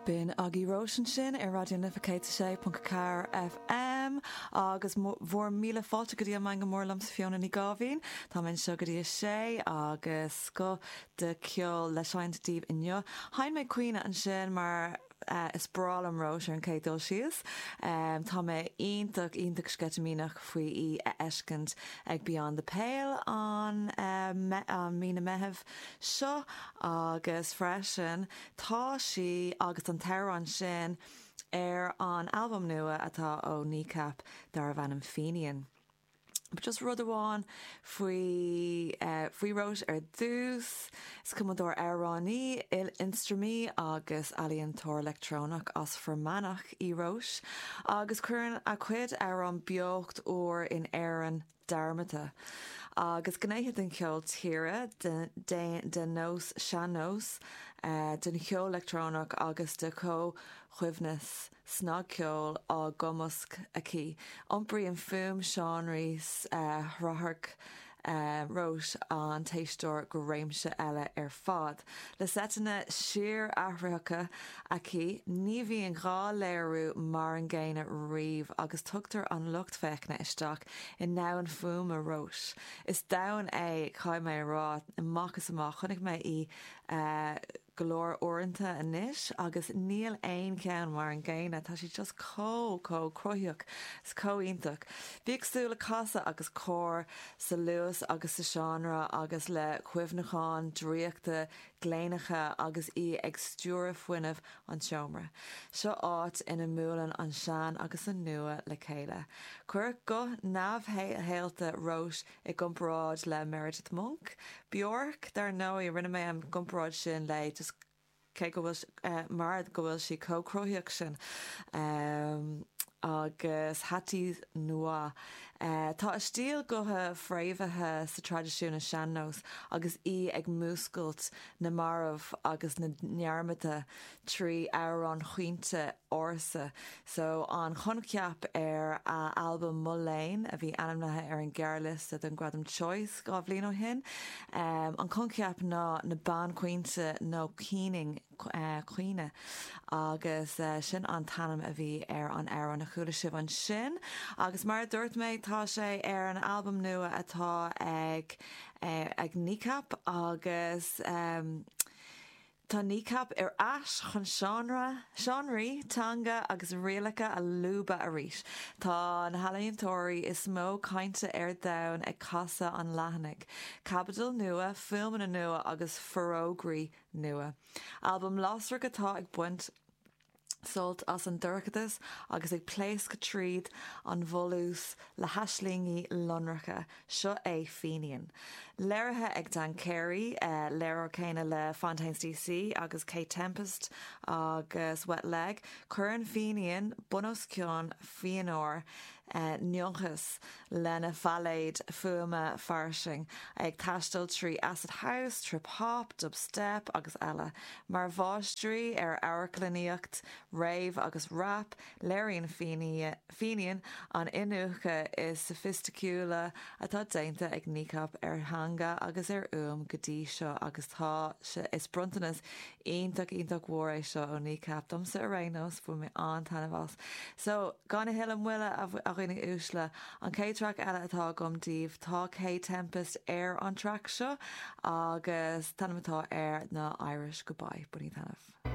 B'in agaibh Róis ansin ar Raidió na Life 106.4 FM agus bhur míle fáilte go dtí an Meangadh Mór liomsa Fiona Ní Gáibhín. Tá mé anseo go dtí a sé agus scoth de cheol le seinnt daoibh inniu. Sheinn mé Caoineadh ansin mar is breá liom Róis ar an chéad dul síos. Tá mé iontach, iontach sceitimíneach faoi í a fheiscint ag Beyond the Pale an mí na Meitheamh seo agus freisin tá sí agus an t-amhrán sin ar an albam nua atá ó Kneecap darbh ainm Fenian. But just rud amháin faoi faoi Róis ar dtús, is cumadóir amhránaí, il-ionstraimí agus ealaíontóir leictreonach as Fear Manach í Róis agus cuireann a cuid amhrán beocht úr in Éirinn dearmadta agus gnéithe den cheol tíre, den nós sean-nós, den cheol leictreonach agus de chomhchoibhneas snagcheoil á gcumasc aici. Iompraíonn fuaim seánraí srathrach Róis an t-éisteoir go réimse eile ar fad. Le seiteanna síorathraitheacha aici, ní bhíonn dhá léiriú mar an gcéanna riamh agus tugtar an lucht féachana isteach i ndomhan fuaime Róis. Is domhan é, caithfidh mé a rá, amach is amach. Chonaic mé í go leor uaireanta anois agus níl aon cheann mar an gcéanna. Tá sí just chomh, chomh cruthaíoch is chomh iontach. Bíodh súil le casadh agus cor sa luas agus sa seánra agus le cuimhneacháin draíochta gléineacha agus í ag stiúradh fuinneamh an tseomra. Seo áit ina mbuaileann an sean agus an nua le chéile. Cuireadh guth neamhshaolta Róis i gcomparáid le Meredith Monk, Bjork, dar ndóigh, rinne mé an gcomparáid sin léi just cé go bhfuil, mar go bhfuil sí chomh cruthaíoch sin. Agus Hatis Noit. Tá a stíl gutha fréamhaithe sa traidisiún an sean-nós agus í ag múscailt na marbh agus na ndearmadta 3 amhrán chaointe ársa. So, an coincheap ar a albam Mo Léan, a bhí ainmnithe ar an ghearrliosta don Gradam Choice 2 bhliain ó shin, an coincheap ná na banchaointe nó keening, caoineadh, agus sin an t-ainm a bhí ar an amhrán a chuala sibh ansin. Agus mar a dúirt mé, tá sé ar an albam nua atá ag ag Kneecap agus. Tá Kneecap ar ais chun seánra, seánraí, teanga agus rialacha a lúbadh arís. Tá na healaíontóirí is mó cainte ar domhan ag casadh an leathanaigh. Caibidil nua, fuaimeanna nua agus forógraí nua. Albam lasrach atá ag baint sult as an dorchadas agus ag pléascadh tríd an bhfolús le haislingí lonracha. Seo é Fenian. Léirithe ag Dan Carey, léiritheoir céanna le Fontaines DC agus Kate Tempest agus Wet Leg, cuireann Fenian bunoscionn fíonúr n-ionchas lena phailéad fuaime fairsing, ag taisteal trí acid house, trip hop, dubstep agus eile. Mar mháistrí ar amharclannaíocht, rave agus rap, léiríonn Fenian an iniúchadh is sofaisticiúla atá déanta ag Kneecap ar theanga agus ar fhuaim go dtí seo agus tá sé, is bronntanas iontach iontach mhór é seo ó Kneecap domsa ar aon nós, bhain mé an-taitneamh as. So, gan a thuilleadh moille a dhaoine uaisle, an chéad traic eile atá agam daoibh, tá Kae Tempest ar an traic seo agus an t-ainm atá air ná Irish Goodbye. Bainigí taitneamh.